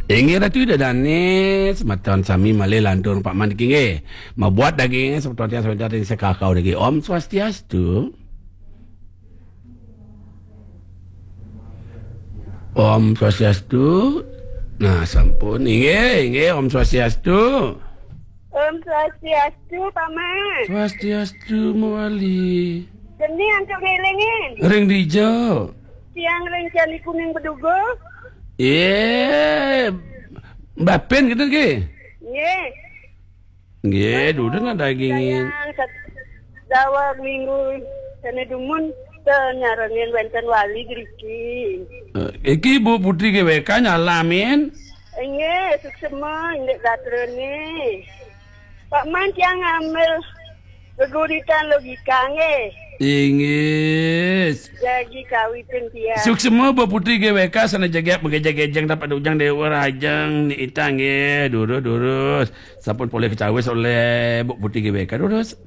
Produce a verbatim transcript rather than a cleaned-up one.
Inggih Ratu Ida Dané, semeton sami malih lantur Pak Man niki nggih. Mabuat daging semeton tiang semeton ring Sekakau niki. Om Swastiastu. Om Swastiastu. Nah, sampun. Inggih, inggih, Om Swastiastu. Om Swastiastu, Paman. Swastiastu, Mawali. Geni antuk ngélingin. Ring dija. Tiang ring Candi Kuning Bedugul. Yé, Mbah Pin gitu nggih. Nggih. Nggih, dudu nak dagingin. Sayang, sat-, daweg minggu sané dumun, nyarengin wénten wali driki. Eh, iki Bu Putri G W K nyalamin. Inggih, suksema indik gatrané. Pak Man tiang ngambil geguritan logika nggih. Inggih. Jagi kawitin tiang. Suksema Bu Putri G W K sané jagi mengejek-ejeng dapat ujang Déwa Rajang ni itang nggih. Durus, durus. Sampun polih kacawis olih Bu Putri G W K. Durus.